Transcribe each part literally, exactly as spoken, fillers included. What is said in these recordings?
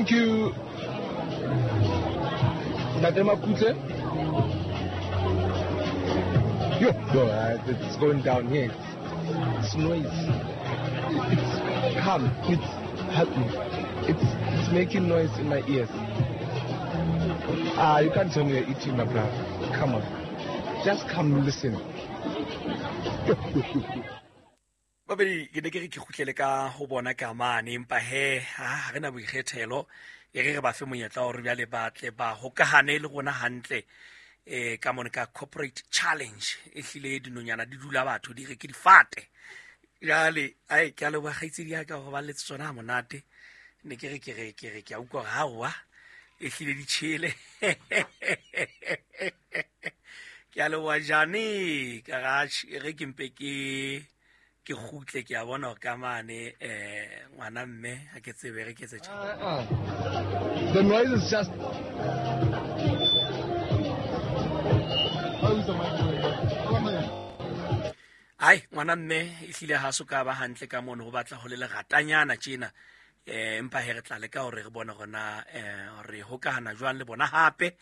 Thank you. Ntate Makutle. Yo, yo, uh, it's going down here. It's, it's noise. It's calm. It's help me. It's it's making noise in my ears. Ah, you can't tell me you're eating, my brother. Come on. Just come listen. Babedi ke ne ke re ke kgutlele ka ho bona ka mane, empa he ha re na boikgethelo, e re re ba fe monyetla hore jwale ba tle ba hokahane le rona hantle eh ka mone ka corporate challenge. E hlile dinonyana di dula batho di re ke difate. Jwale ai ke a leboha kgaitsedi ya ka hore ba letse tsona ha monate. Ne ke re ke re ke re ke a utlwa hore hawa e hlile di tjhele. Ke a leboha Jane ka garage, e re ke mpe ke ke kgutle, ke a bona hore ka mane eh ngwana mme ha ke tsebe re ke etse tjhe. Uh, uh. The noise is just Ai ngwana mme e hlile ha so ka ba hantle ka mono, ho batla ho le leratanyana tjena. Eh empa he re tla leka hore re bone hore na eh re hokahana jwang le bona hape.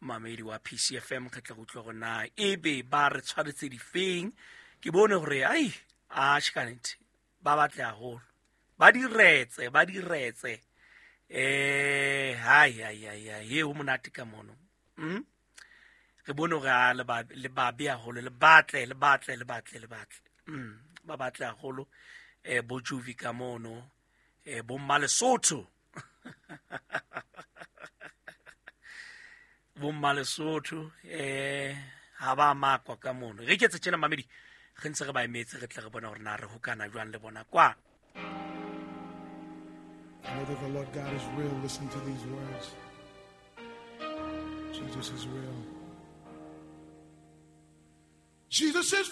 Mamedi wa P C F M re tla utlwa hore na ebe ba re tshwaretse difeng. Ke bone hore ai a tjhe ba batle haholo, ba diretse ba diretse eh hai hai hai hai he ho monate ka mono. Mm re bone hore a le ba le ba be haholo, le batle le batle le batle le batle mm ba batle haholo eh bo Juvi ka mono, eh bo Mmalesotho bo Mmalesotho eh ha ba makwa ka mono. Re ketse tjena mamedi, re ntse re ba emetse, re tle re bona hore na re hokana jwang le bona kwa. Know that the Lord God is real. Listen to these words. Jesus is real. Jesus is real.